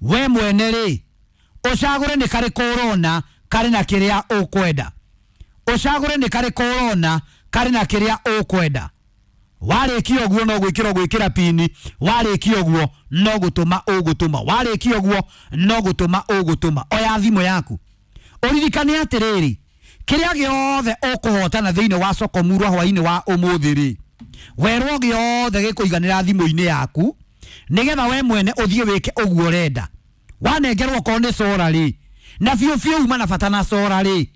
We mwene rĩ, ũcagũre nĩ karĩkũ ũrona karĩ na kĩrĩa ũkwenda. Ũcagũre nĩ karĩkũ ũrona karĩ na kĩrĩa ũkwenda. Warĩkia ũguo no gwĩkĩra ũgwĩkĩra pini, warĩkia ũguo no gũtũma ũgũtũma, warĩkia ũguo no gũtũma ũgũtũma. Oya thimũ yaku ũririkane atĩrĩrĩ, kĩrĩa gĩothe ũkũhotana thĩinĩ wa soko murwa hwainĩ wa ũmũthĩ rĩ, werwo gĩothe gĩkũiganĩra thimũ-inĩ yaku nĩgetha we mwene ũthiĩ wĩke ũguo ũrenda. Wanengerwo okorwo nĩ cora rĩ, na biũ biũ uma na bata na cora rĩ,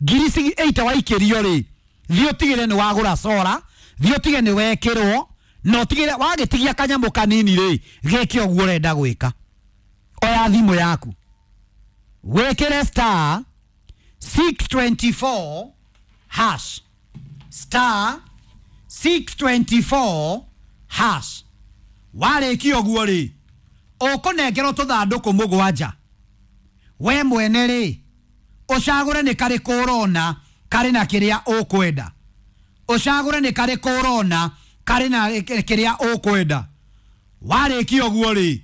ngiri 8 waikĩrio rĩ, thiĩ ũtigĩre nĩ wagũra cora, thiĩ ũtige nĩ wekĩrwo, na ũtigĩre wagĩtigia kanyamũ kanini rĩ, gĩke ũguo ũrenda gwĩka. Oya thimũ yaku wĩkĩre star 624 hash, star 624 hash. Warĩkia ũguo rĩ, ũkũnengerwo tũthandũkũ mũgwanja. We mwene rĩ, ũcagũre nĩ karĩkũ ũrona karĩ na kĩrĩa ũkwenda. Ũcagũre nĩ karĩkũ ũrona karĩ na kĩrĩa ũkwenda. Warĩkia ũguo rĩ,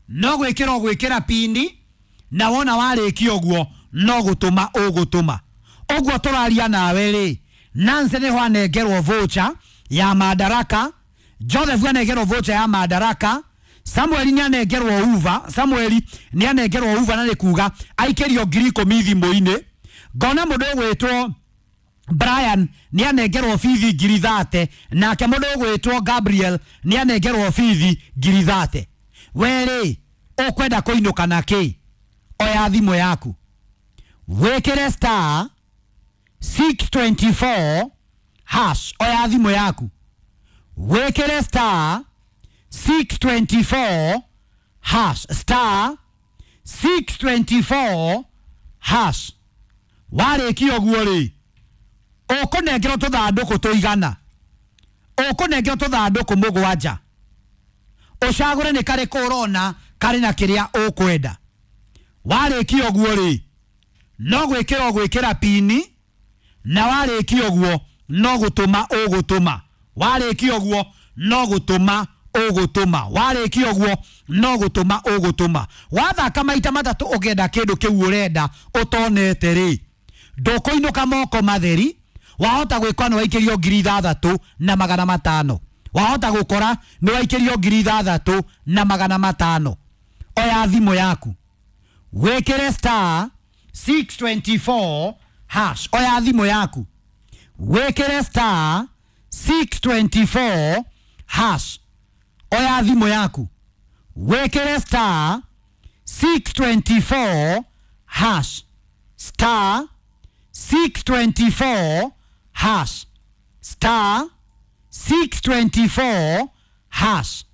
no gwĩkĩra ũgwĩkĩra pini, na wona warĩkia ũguo no gũtũma ũgũtũma. Ũguo tũraria nawe rĩ, Nancy nĩho anengerwo voucher ya Madaraka, Joseph anengerwo voucher ya Madaraka, Samuel nĩ anengerwo uva, Samuel nĩ anengerwo uva, na nĩ kuga aikĩrio 10,000 thimũ-inĩ. Ngona mũndũ ũgwĩtwo Brian nĩ anengerwo bithi 30,000, nake mũndũ ũgwĩtwo Gabriel nĩ anengerwo bithi 30,000. We rĩ, ũkwenda kũinũka na kĩ? Oya thimũ yaku wĩkĩre star 624 hash. Oya thimũ yaku wĩkĩre star 624 hash, star 624 hash. Warĩkia ũguo rĩ, ũkũnengerwo tũthandũkũ tũigana, ũkũnengerwo tũthandũkũ mũgwanja. Ũcagũre nĩ karĩkũ ũrona karĩ na kĩrĩa ũkwenda. Warĩkia ũguo rĩ, no gwĩkĩra ũgwĩkĩra pini, na warĩkia ũguo no gũtũma ũgũtũma. Warĩkia ũguo no gũtũma ũgũtũma. Warĩkia ũguo no gũtũma ũgũtũma. Wathaka maita matatũ ũkĩenda kĩndũ kĩu ũrenda ũtonete rĩ, ndũkũinũka moko matheri. Wahota gwĩkora nĩ waikĩrio 6,500. Wahota gũkora nĩ waikĩrio 6,500. Oya thimũ yaku wĩkĩre star 624 hash. Oya thimũ yaku wĩkĩre star 624 hash. Oya thimũ yaku wĩkĩre star 624 hash, star 624 hash, star 624 hash.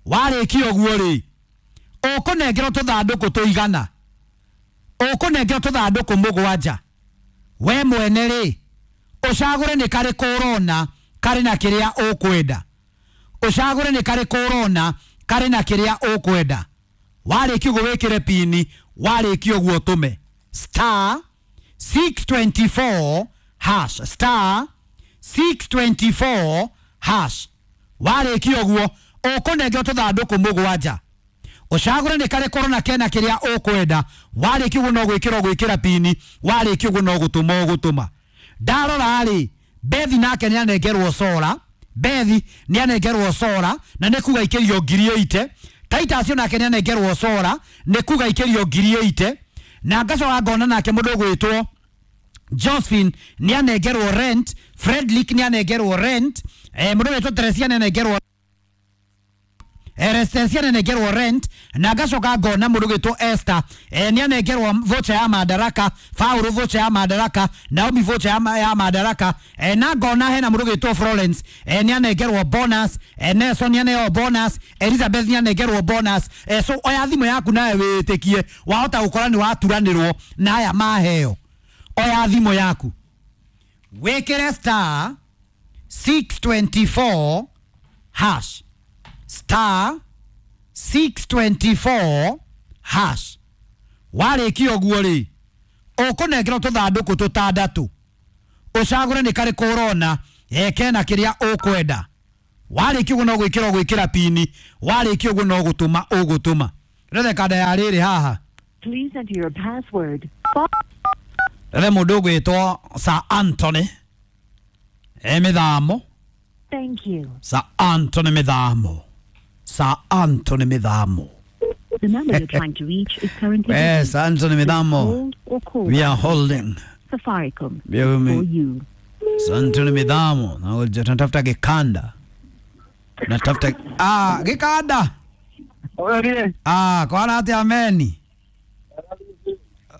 Warĩkia ũguo rĩ, ũkũnengerwo tũthandũkũ tũigana, ũkũnengerwo tũthandũkũ mũgwanja. We mwene rĩ, ũcagũre nĩ karĩkũ ũrona karĩ na kĩrĩa ũkwenda. Ũcagũre nĩ karĩkũ ũrona karĩ na kĩrĩa ũkwenda. Warĩkia ũguo wĩkĩre pini, warĩkia ũguo ũtũme star 624 hash, star 624 hash. Warĩkia ũguo ũkũnengerwo tũthandũkũ mũgwanja. Ũcagũre nĩ karĩkũ ũrona kena kĩrĩa ũkwenda. Warĩkia ũguo no gwĩkĩra ũgwĩkĩra pini, warĩkia ũguo no gũtũma ũgũtũma. Ndarora rĩ, Bethi nake nĩ anengerwo cora, Bethi nĩ anengerwo cora, na nĩ kuga ikĩrio 80,000. Titus nake nĩ anengerwo cora, nĩ kuga ikĩrio 80,000. Na ngacoka ngona nake mũndũ ũgwĩtwo Josephine nĩ anengerwo rent, Fredrick nĩ anengerwo rent, mũndũ ũgwĩtwo Teresia nĩ anengerwo Resistencia nĩ anengerwo rent, na ngacoka ngona mũndũ ũgwĩtwo Esther nĩ anengerwo voucher ya Madaraka, Paul voucher ya Madaraka, Naomi voucher ya Madaraka, na ngona hena mũndũ ũgwĩtwo Florence nĩ anengerwo bonus, Nelson nĩ aneo bonus, Elizabeth nĩ anengerwo bonus. So oya thimũ yaku nawe wĩtĩkie wahota gũkora nĩ waturanĩrwo na aya maheo. Oya thimũ yaku wĩkĩre star 624 hash, star 624 hash. Warĩkia ũguo rĩ, ũkũnengerwo tũthandũkũ tũtandatũ. Ũcagũre nĩ karĩkũ ũrona kena kĩrĩa ũkwenda. Warĩkia ũguo no gwĩkĩra ũgwĩkĩra pini, warĩkia ũguo no gũtũma ũgũtũma. Ndethe kanda ya rĩrĩ haha. Please enter your password. Ndethe mũndũ ũgwĩtwo Sir Anthony e mĩthamo. Thank you. Sir Anthony mĩthamo. Sir Anthony mĩthamo. The number you're trying to reach is currently Eh, busy. Sir Anthony Please mĩthamo. hold or call We are holding. Safaricom Bear with me. for you. Sir Anthony mĩthamo. Na tunatafuta gĩkanda. Natafuta ah gĩkanda. Oye, Ah, kwana atĩa meni?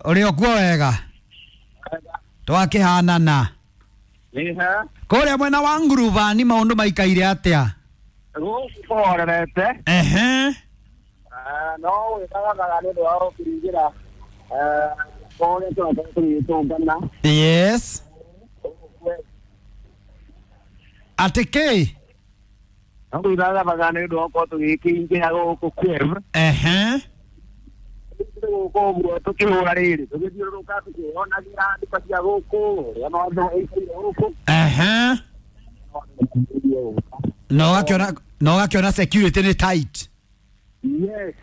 Ũrĩ o kuo wega? Twakĩhanana. niha Kũrĩa mwena wa ngurubani maũndũ maikaire atĩa? gũkũ kũhorerete. Ehe. No wĩthagaga nĩ ũndũ wa gũkĩingĩra kũrĩa tũrakorwo tũgĩtũngana. Yes. Atĩ kĩ? No gwĩthagathaga nĩ ũndũ wa gũkorwo tũgĩkĩingĩra gũkũ Kiev. Ehe. Gũkũ ũguo tũkĩhũra rĩrĩ tũgĩthiũrũrũka tũkĩonagĩra nduka cia gũkũ ũrĩa maũndũ maikaire gũkũ. Ehe. Na ũgakĩona na ũgakĩona security nĩ tight. Yes,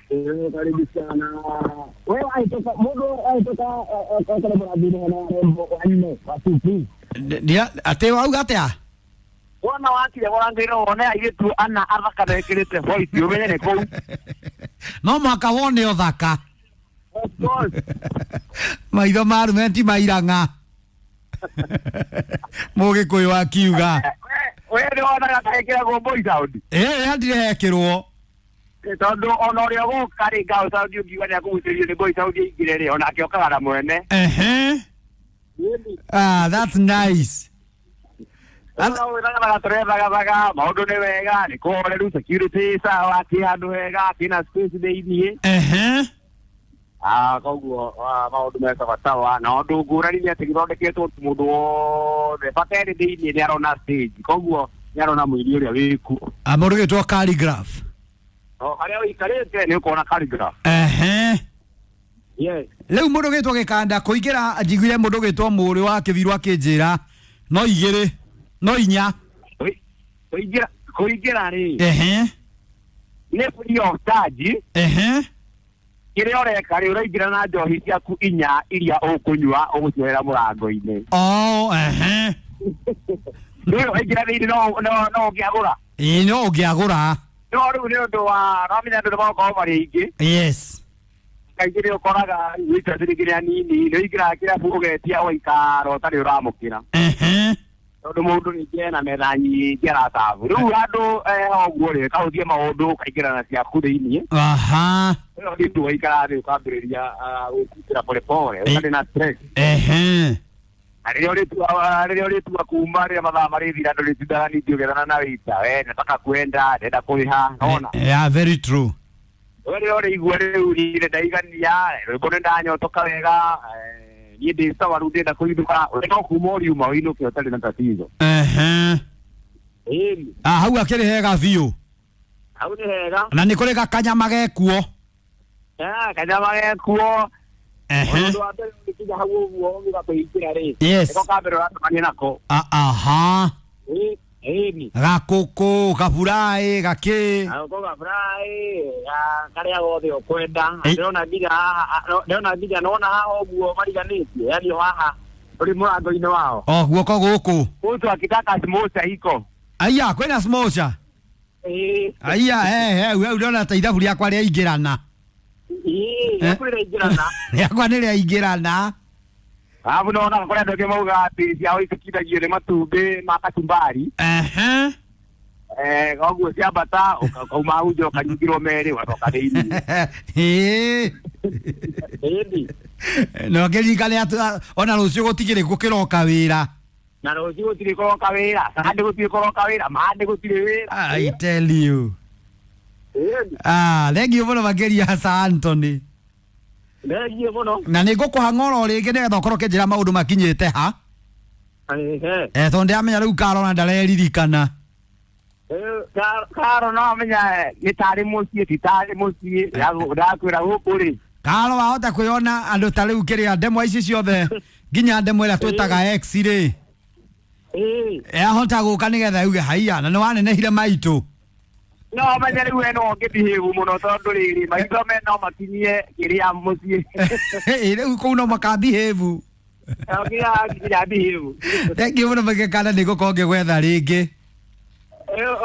karibu sana. Wewe ahĩtũka mũndũ ahĩtũka ekore mũrathi-inĩ hena rembo wanne wa CP. Atĩ wauga atĩa? Wona wakire mũrango-inĩ wone airĩtu ana athaka mekĩrĩte white ũmenye nĩ kũu. No mũhaka wone ũthaka. Of course. Maitho ma arũme ti mairang'a. Mũgĩkũyũ akiuga. We nĩ wonaga ta ĩkĩragwo boy sound. Ĩĩ hatirĩ hekĩrwo. Tondũ ona ũrĩa ũgũka rĩ ngao sound ũngiuga nĩ akũgucĩrĩrio nĩ boy sound aingĩre rĩ onake okaga na mwene. Ehe. Ah, that's nice. Wĩthagaga tũrethagathaga maũndũ nĩ wega nĩ kũhoreru security sawa kĩ handũ hega kĩna space thĩiniĩ. Ehe. Ah, koguo maũndũ me sawasawa na ũndũ ngũrani nĩ atĩ gĩthondeketwo mũndũ wothe bata ĩrĩ thĩiniĩ nĩ arona stage koguo nĩ arona mũini ũrĩa wĩkuo. Ah, mũndũ ũgĩtwo calligraph. O harĩa ũikarĩte nĩ ũkuona calligraph. Ehe. Yes. Rĩu mũndũ ũgĩtwo gĩkanda kũingĩra njiguire mũndũ ũgĩtwo mũrĩ wa kĩbirũ akĩnjĩra no igĩrĩ no inya. Kũingĩra kũingĩra rĩ Ehe. nĩ free of charge. Ehe. Kĩrĩa ũreka rĩ ũraingĩra na njohi ciaku inya iria ũkũnyua ũgũcioera mũrango-inĩ. Oh, ehe. Rĩu waingĩra thĩinĩ no no no ũngĩagũra. Ĩĩ no ũngĩagũra. No rĩu nĩ ũndũ wa no menya andũ nĩ magũkorwo marĩ aingĩ. Yes. Kaingĩ nĩ ũkoraga wĩta ciringi nĩ anini nĩ ũingĩraga kĩrabu ũgetia ũgaikara ũtarĩ ũramũkĩra. Ehe. Tondũ mũndũ rĩngĩ ena metha nyingĩ aracabu. Rĩu handũ ũguo rĩ kahũthie maũndũ ũkaingĩra na ciaku thĩinĩ. Aha. Rĩu nĩ ũndũ waikara thĩ ũkambĩrĩria gwĩkutĩra polepole ũtarĩ na stress. Ehe. Na rĩrĩa ũrĩtua rĩrĩa ũrĩtua kuma rĩrĩa mathaa marĩthira ndũrĩtindaga ningĩ ũgĩethana na wĩita we nataka kwenda ndenda kũrĩha nona. Yeah, very true. We rĩrĩa ũrĩigua rĩu niĩ ndaigania rwĩmbo nĩ ndanyotoka wega niĩ ndĩ sawa rĩu ndĩrenda kũinũka ũrĩ no kuma ũriuma ũinũke ũtarĩ na tatizo. Ehe. Ĩni Ah, hau akĩrĩ hega biũ. hau nĩ hega. Na nĩ kũrĩ gakanyama gekuo. Ah, kanyama gekuo. Ehe. Ũndũ wa mbere ũgĩkinya hau ũguo ũgiuga kũingĩra rĩ Yes. nĩko ka mbere ũracemania nako. Ah, aha. Ĩni Gakũkũ, gaburaĩ, gakĩ. gakũkũ gaburaĩ karĩa gothe ũkwenda. Ĩ. Ndĩrona nginya haha ndĩrona nginya nona haha ũguo mariganĩtie yani o haha ũrĩ mũrango-inĩ wao. O guoko gũkũ. Mtu akitaka smocha iko. Aya, kwĩna smocha. Ĩĩ. Aya, he he, we ndĩrona ta ithabu rĩakwa rĩaingĩrana. Ĩĩ, rĩaku rĩraingĩrana. Rĩakwa nĩ rĩaingĩrana. Alafu naona kũrĩ andũ angĩ maugaga atĩ ciao itikindagio nĩ matumbĩ ma kachumbari. Ehe. Eh, koguo ciambata ũkauma hau nja ũkaringĩrwo merĩ ũgacoka thĩiniĩ. Ĩĩ. Ĩni. No ngĩririkane atĩ ona rũciũ gũtigĩrĩ gũkĩroka wĩra. Na rũciũ gũtirĩ kũroka wĩra, Sunday gũtirĩ kũroka wĩra, Monday gũtirĩ wĩra. I tell you. Ĩni. Ah, thengiũ mũno makĩria Sir Anthony. Thengiũ mũno. Na nĩ ngũkũha ng'oro rĩngĩ nĩgetha ũkorwo ũkĩnjĩra maũndũ makinyĩte ha. Ehe. Eh, tondũ ndĩramenya rĩu Karona ndareririkana. Karo no menya nĩ tarĩ mũciĩ ti tarĩ mũciĩ ndakwĩra gũkũ rĩ. Karo wahota kwĩona andũ ta rĩu kĩrĩa ndemwa ici ciothe nginya ndemwa ĩrĩa twĩtaga X rĩ. Ĩĩ. Ahota gũka nĩgetha yuge haiya na nĩ wanenehire maitũ. No menye rĩu we no ũngĩbehave mũno tondũ rĩrĩ maitho me no makinyie kĩrĩa mũciĩ. Rĩu kũu no makambihĩvu. Nginya behave. Thengiũ mũno Gĩkanda, nĩ ngũkorwo ngĩgwetha rĩngĩ.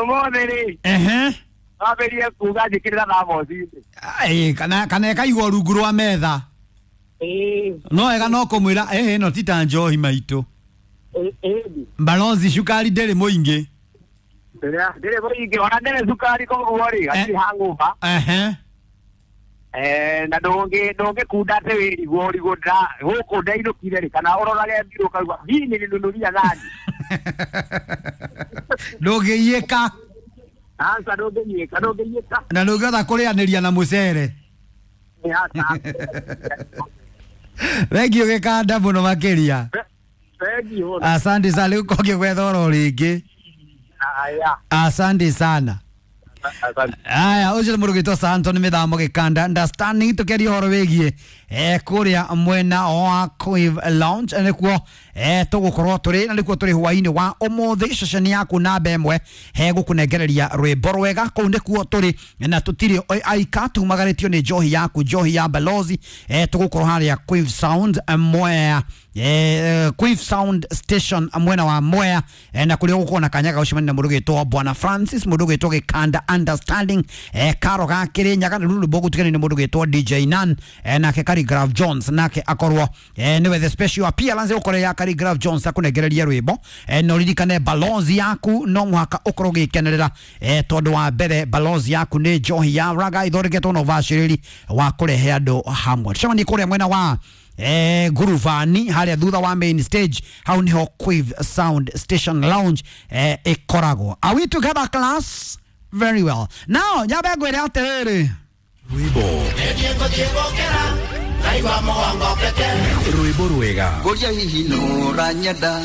Ũmũthĩ rĩ, Ehe. wambĩrĩrie kuga njĩkĩrĩra thamoci-inĩ. Ĩ, kana ĩkaigwo rungu rwa metha. No wega no kũmwĩra ĩhĩ ĩno ti ta njohi maitũ. Balozi cukari ndĩrĩ mũingĩ. Ndĩrĩ mũingĩ ona ndĩrĩ cukari, koguo rĩ hatirĩ hangover. Ehe. Na ndũngĩkunda atĩ wĩrigwo ũrigwo gũkũ ndainũkire rĩ, kana ũrorage mbirũ ũkaigua hihi nĩninunuria thani. Ndũngĩiyĩka. Aca, ndũngĩnyuĩka, ndũngĩiyĩka. Na ndũngĩhota kũrĩanĩria na mũcere. Aca. Thengiũ Gĩkanda mũno makĩria. Thengiũ. Asante sana, rĩu kongĩgwetha oro rĩngĩ. Aya. Asante sana. Asante. Aya, ũcio nĩ mũndũ ũgwĩtwo Santo nĩ mĩthamo Gĩkanda understanding, tũkĩaria ũhoro wĩgiĩ kũrĩa mwena wa Quive Lounge, nĩkuo tũgũkorwo tũrĩ na nĩkuo tũrĩ hwainĩ wa ũmũthĩ. Ceceni yaku namba ĩmwe hegũkũnengereria rwĩmbo rwega, kũu nĩkuo tũrĩ na tũtirĩ aika, tumagarĩtio nĩ njohi yaku, njohi ya Balozi. Tũgũkorwo harĩa Quive Sound, Mwea, Quive Sound Station mwena wa Mwea, na kũrĩa ũgũkorwo na kanya ga gũcemania na mũndũ ũgwĩtwo Bwana Francis, mũndũ ũgwĩtwo Gĩkanda Understanding, Karo ga Kĩrĩnyaga, na rĩu rwĩmbo gũtukanio nĩ mũndũ ũgwĩtwo DJ Nan, nake Khaligraph Jones nake akorwo nĩwe the special appearance ũkorwo ya Khaligraph Jones akũnengereria rwĩmbo. Na ũririkane Balozi yaku no mũhaka ũkorwo ũgĩkenerera, tondũ wa mbere Balozi yaku nĩ njohi ya raga ithondeketwo na ũbacĩrĩri wa kũrehe andũ hamwe. Tũcemanie kũrĩa mwena wa Guruvani harĩa thutha wa main stage, hau niho Quive Sound Station Lounge ĩkoragwo. Are we together, class? Very well. Now nyambe ngwĩre atĩrĩrĩ. Rwĩmbo rwĩmbo rwega. Ngũria hihi nũranyenda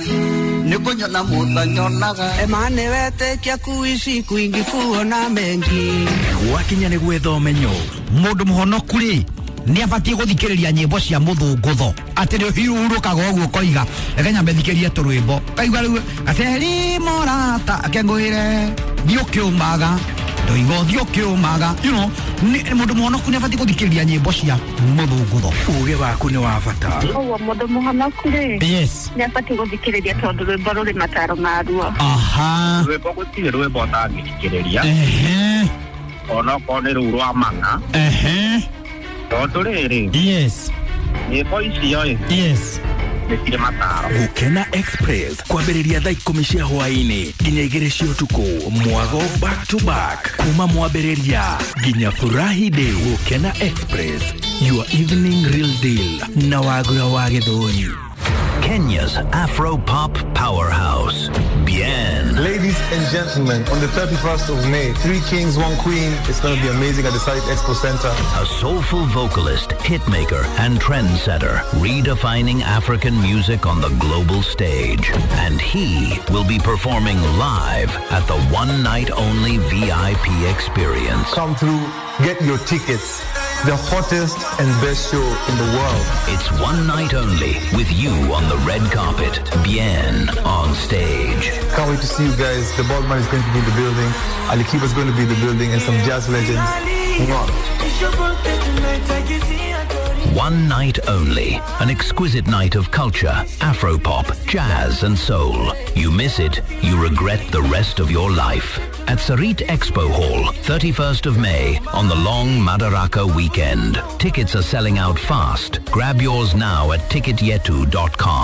nĩ kũnyona mũtanyonaga. Emane wetĩkia kuishi kwingi kuona mengi. Gwakinya nĩ gwetha ũmenyo. Mũndũ mũhonoku rĩ nĩ abatiĩ gũthikĩrĩria nyĩmbo cia mũthũngũtho, atĩ nĩ ũhurũkaga ũguo ũkoiga reke nyambe thikĩrie tũrwĩmbo, kaigua rĩu gaceri morata akengũĩre thiĩ ũkĩũmaga ndoiga ũthiĩ ũkĩũmaga, you know, mũndũ mũhonoku nĩ abatiĩ gũthikĩrĩria nyĩmbo cia mũthũngũtho. Uge waku nĩ wa bata. Ũguo mũndũ mũhonoku rĩ yes nĩ abatiĩ gũthikĩrĩria tondũ rwĩmbo rũrĩ mataro maruo. Aha. Rwĩmbo gũtirĩ rwĩmbo ũtangĩthikĩrĩria Ehe. onokorwo nĩ rũu rwa mang'a, Ehe. tondũ rĩrĩ yes nyĩmbo icio ĩ yes nĩ cirĩ mataro. Gũkena Express kwambĩrĩria thaa 10 cia hwaĩ-inĩ nginya 2 cia ũtukũ, mwago back to back kuma mwambĩrĩria nginya furahi day. Gũkena Express, your evening real deal na Wagura wa Gĩthũri. Kenya's Afro Pop Powerhouse. Bien. Ladies and gentlemen, on the 31st of May, Three Kings, One Queen. It's going to be amazing at the Site Expo Center. A soulful vocalist, hitmaker, and trendsetter, redefining African music on the global stage. And he will be performing live at the one night only VIP experience. Come through, get your tickets. The hottest and best show in the world. It's one night only with you on the red carpet, Bien on stage. Can't wait to see you guys. The Baldman is going to be in the building. Ali Kiba is going to be in the building and some jazz legends. Mwah. One night only. An exquisite night of culture, Afropop, jazz and soul. You miss it, you regret the rest of your life. At Sarit Expo Hall, 31st of May, on the long Madaraka weekend. Tickets are selling out fast. Grab yours now at ticketyetu.com.